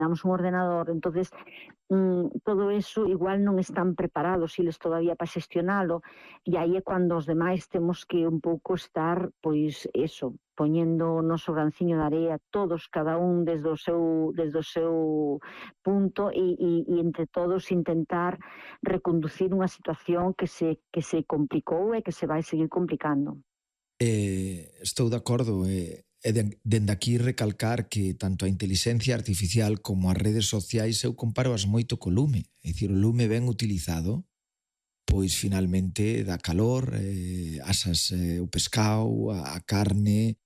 damos un ordenador, entonces todo eso igual non están preparados eles todavía para xestionalo, e aí é cando os demais temos que un pouco estar, pois, eso, poñendo o noso granciño de area, todos, cada un desde o seu punto, e entre todos intentar reconducir unha situación que se complicou e que se vai seguir complicando. Estou de acordo, dende aquí recalcar que tanto a inteligencia artificial como as redes sociais eu comparo-as moito co lume. É dicir, o lume ben utilizado, pois finalmente dá calor, asas o pescado, a carne,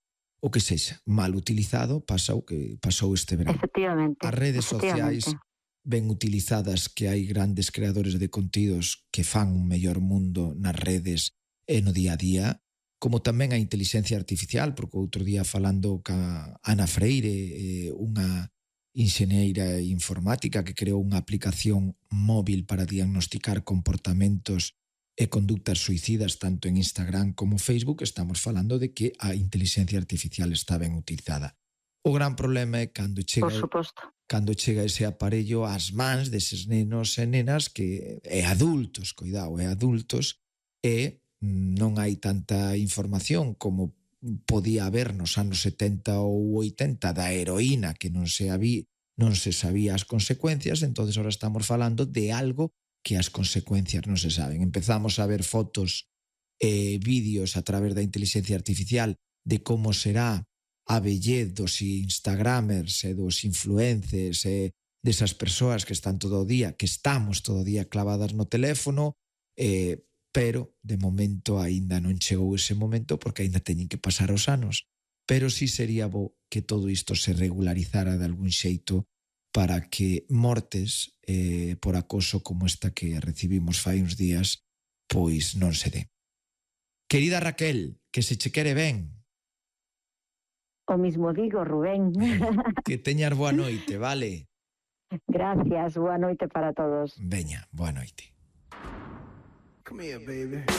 o que sexa. Mal utilizado pasa o que pasou este verán. Efectivamente. As redes sociais ben utilizadas, que hai grandes creadores de contidos que fan un mellor mundo nas redes e no día a día, como tamén a inteligencia artificial, porque outro día falando ca Ana Freire, unha enxeñeira informática que creou unha aplicación móvil para diagnosticar comportamentos e conductas suicidas tanto en Instagram como Facebook, estamos falando de que a inteligencia artificial está ben utilizada. O gran problema é cando chega ese aparello ás mans deses nenos e nenas que é adultos, cuidado, é adultos, e non hai tanta información como podía haber nos anos 70 ou 80 da heroína que non se sabía as consecuencias, entonces ahora estamos falando de algo que as consecuencias non se saben. Empezamos a ver fotos e vídeos a través da inteligencia artificial de como será a vellez dos instagramers e dos influencers e desas persoas que están todo o día, que estamos todo o día clavadas no teléfono, pero de momento aínda non chegou ese momento porque aínda teñen que pasar os anos. Pero sí sería bo que todo isto se regularizara de algún xeito para que mortes por acoso como esta que recibimos fai uns días pois non se dé. Querida Raquel, que se che quere ben. O mismo digo, Rubén. Que teñas boa noite, vale? Gracias, boa noite para todos. Veña, boa noite. Come here, baby.